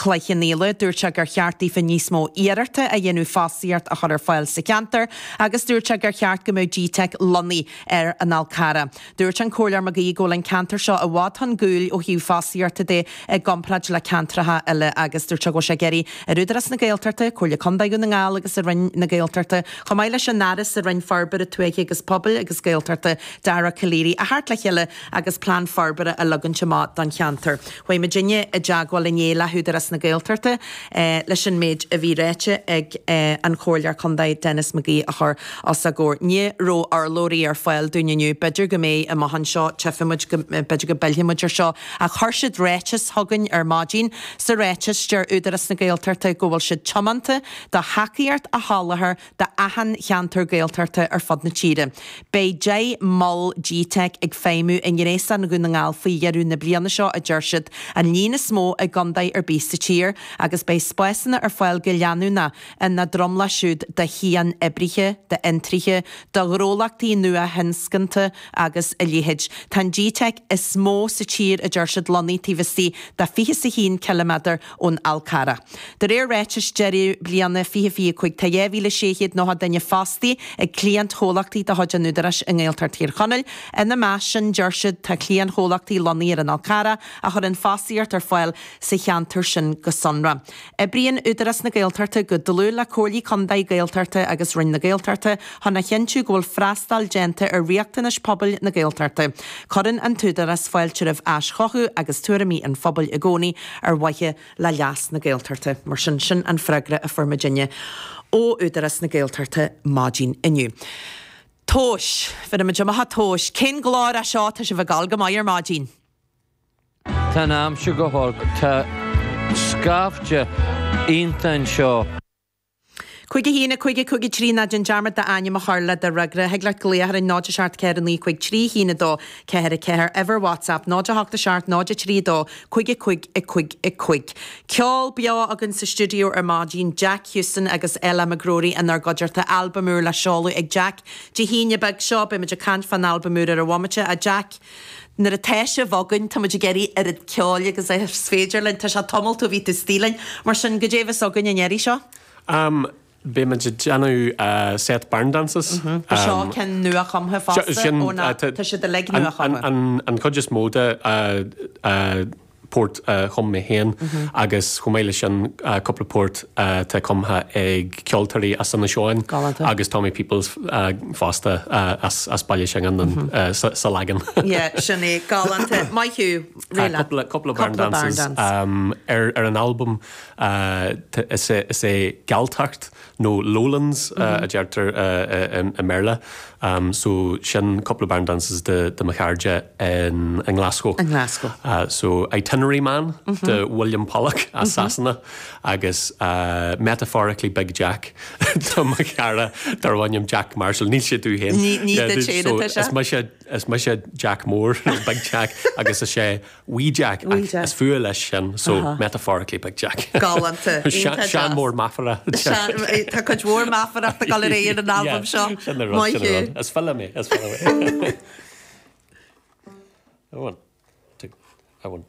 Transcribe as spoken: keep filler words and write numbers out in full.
Cloich Cheann Fhaola. Dúirt sé gur cheart daofa níos mó iarrachta a dhéanamh fostaíocht a chur ar fáil sa cheantar agus dúirt sé gur cheart go mbeadh GTeic lonnaithe ar an Fhál Carrach. Dúirt an Comhairleoir McGee go bhfuil an ceantar seo i bhfad chun cúil ó thaobh fostaíochta de i gcomparáid le ceantracha eile agus dúirt sé go bhfuil sé ag iarraidh ar Údarás na Gaeltachta, Comhairle Contae Dhún na nGall agus ar Roinn na Gaeltachta, chomh maith leis an Aire sa Roinn Forbartha Tuaithe agus Pobail agus Gaeltachta, Dara Calleary, a theacht le chéile agus plean forbartha a leagaint amach don cheantar. Chuaigh muidinne i dteagmháil inné le hÚdarás na Gaeltachta leis an méid a bhí ráite ag an Chomhairleoir Contae Denis McGee a chur os a gcomhair. Ní raibh urlabhraí ar fáil dúinn inniu, b'fhéidir go mbeidh amach anseo, tchífidh muid go b'fhéidir go bpillfidh muid ar seo, ach chuir siad ráiteas chugainn ar maidin. Sa ráiteas, deir Údarás na Gaeltachta go bhfuil siad tiomanta do thacaíocht a sholáthar d'achan cheantar Gaeltachta ar fud na tíre. Beidh deich mol GTeic ag feidhmiú i ngréasán Dhún na nGall faoi dheireadh na bliana seo, a deir siad, an líon is mó i gcontae ar bith sa tír, agus beidh spásanna ar fáil go leanúnach ina dtromlach siúd do chian-oibrithe, d'fhiontraithe, do ghnólachtaí nua-thionscanta agus a leithéid. Tá an GTeic is mó sa tír, a deir siad, lonnaithe taobh istigh de fiche is a haon ciliméadar ón Fhál Carrach. De réir ráitis deireadh bliana fiche fiche a cúig, tá dhá mhíle sé chéad nócha duine fostaithe ag cliantchomhlachtaí de chuid an Údaráis i nGaeltacht Thír Chonaill. Ina measc sin, deir siad, tá cliantchomhlachtaí lonnaithe ar an Fhál Carrach a chuireann fostaíocht ar fáil sa cheantar sin go sonrath. Oibríonn Údarás na Gaeltachta go dlúth le Comhairlí Contae Gaeltachta agus Roinn na Gaeltachta chun a chinntiú go bhfuil freastal déanta ar riachtanais pobail na Gaeltachta. Cuireann an tÚdarás fáilte roimh aischothú agus tuairimí an phobail i gcónaí ar mhaithe le leas na Gaeltachta. Mar sin, sin an freagra a fuair muidinne ó Údarás na Gaeltachta maidin inniu. Tomhais, bheir muid amach tomhais. Cén glór é seo? Tá sibh ag gabháil go maith ar maidin. Tá an aimsir go holc. Tá scaifte iontach anseo. Cúig a haon a cúig a cúig a trí ná déan dearmad d'ainm a chur le do fhreagra. Thig leat glaoch orainn náid a seacht ceathair a naoi cúig trí haon a dó ceathair a ceathair. Uimhir WhatsApp náid a hocht a seacht náid a trí a dó cúig a cúig a cúig a cúig. Ceol beo againn sa stiúideo ar maidin, Jack Houston agus Ella McGrory inár gcuideachta. Albam úr le seoladh ag Jack Dé hAoine beag seo. Beidh muid ag caint fán albam úr ar an bhomaite. A Jack, nuair atá sibh againn, tá muid ag iarraidh oiread ceoil agus is féidir linn. Tá sé tamall ó bhí tú istigh linn. Mar sin, goidé a bheas againn an iarraidh seo? Um, Beidh muid ag déanamh set barn dances. Ba seo ceann nuachumtha fosta ó ná tá siad uilig nuachumtha. An chuid is mó de port a chum mé féin agus chomh maith leis sin cúpla port atá cumtha ag ceoltóirí as Inis Eoghain agus Tommy Peoples fosta as Baile Shingáin sa leagan. Yeah, sin é, galánta. Maith thú. Tá cúpla barn dances ar an albam. Is é Galltacht nó Lowlands a deirtear i mBéarla. So sin cúpla barn dances de mo chairde i nGlasgow. I nGlasgow. So Itinerary Man de William Pollock as Sasana agus Metaphorically Big Jack do mo chara darb ainm Jack Marshall. Níl sé tú féin. Ní duit féin atá sé. Is mise is mise Jack Mór nó Big Jack agus is é Wee Jack ach is fuath leis sin so metaphorically Big Jack. Galánta. Sean mór meafara. Tá cuid mhór meafarachta ag dul ar aghaidh ar an albam seo. Sin an rud, sin an rud. Is file mé, is file mé. A one, two, a one.